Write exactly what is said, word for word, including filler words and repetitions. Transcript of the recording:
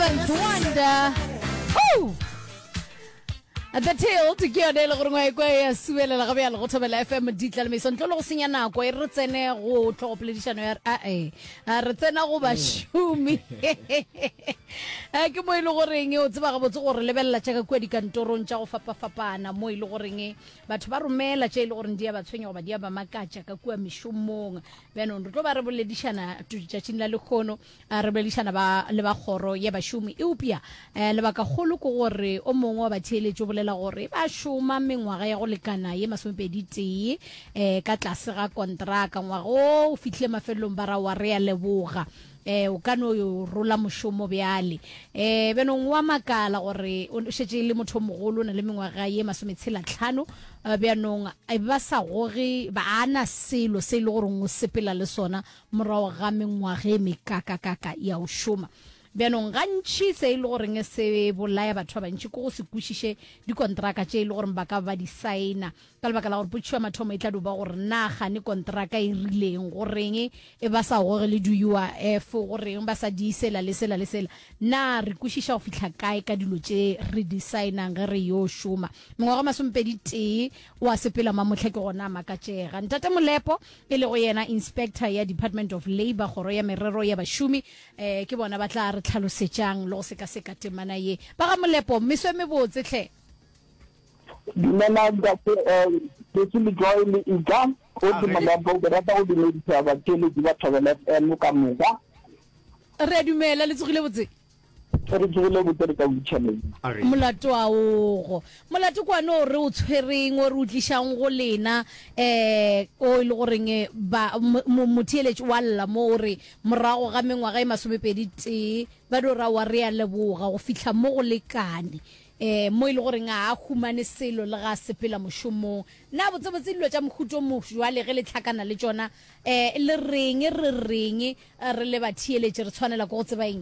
Seventh Wonder. Woo! The Tilt ke yone e le gore ngwa ekwa ya subelela ga bjale go Thobela F M ditla le meso. Ntle le go senya nako, e re tsene go tlhogopoledišano ya ae, re tsena go bašomi. Eh, ke mo e le goreng o tseba gabotse gore lebelela tša ka kua dikantorong tša go fapafapana, mo e le goreng batho ba romela tše e le goreng di a ba tshwenya goba di a ba makatša ka kua mešomong. Bjanong re tlo ba re boledišana tšatšing la lekgono, re boledišana ba le ba kgoro ya bašomi, eupša um lebakagolo ke gore o mongwe wa batheeletši o bolela gore ba šoma mengwaga ya go lekana ye masomepedi tee um ka tlase ga kontraka. Ngwaga o o fihlile mafelelong, ba ra wa re a leboga, um o ka no yo rola mošomo bjale. um bjanong wa makala gore o šetše e le motho o mogolo, o na le mengwaga ye masometshela tlhano, bjanong ba sa goge, ba ana selo se e le goreng o sepela le sona morago ga mengwaga e mekakakaka ya o šoma. Bjanong gantši se e le goreng se bolaya batho ba bantši ke go se kwešiše dikontraka tše e le goreng ba ka ba di saena, ka lebaka la gore potšišo ya mathomo e tla dio ba gore na gane kontraka e rileng, goreng e ba sa goge le di-U I F, goreng ba sa di sela le sela le sela. Na re kwešiša go fihla kae ka dilo tše re di saenang ge re yo šoma? Mengwaga masomepedi tee o a sepela mamotlha, ke gona a makatšega. Ntate Molepo, e lego yena inspector ya Department of Labour, kgoro ya merero ya bašomi, um ke bona ba tla re tlhalosetšang le go sekaseka temana ye. Ba ga Molepo, meso e mebotse tlhe. Dumela ntate Lesi le Joy le Ika o ke Molepo. Ke rata go dumedisa batheeletši ba Thobela F M ka moka. Re a dumela, le tsogile botse? Re tsogile botse, re ka botšhabeng. Molato a ogo molato kwane o re o tshwereng, o re o tlišang go lena, um o e le goreng ba motheeletši wa lla mo o re morago ga mengwaga e masomepedi tee ba dio ra wa re a leboga, go fihla mo go lekane, um mo e le goreng a a humane selo le ga a sepela mošomong. Na botsebotse dilo tša mohuto mo jwale ge le tlhakana le tšona, um le reng, re reng re le batheeletši, re tshwanela ke go tseba eng?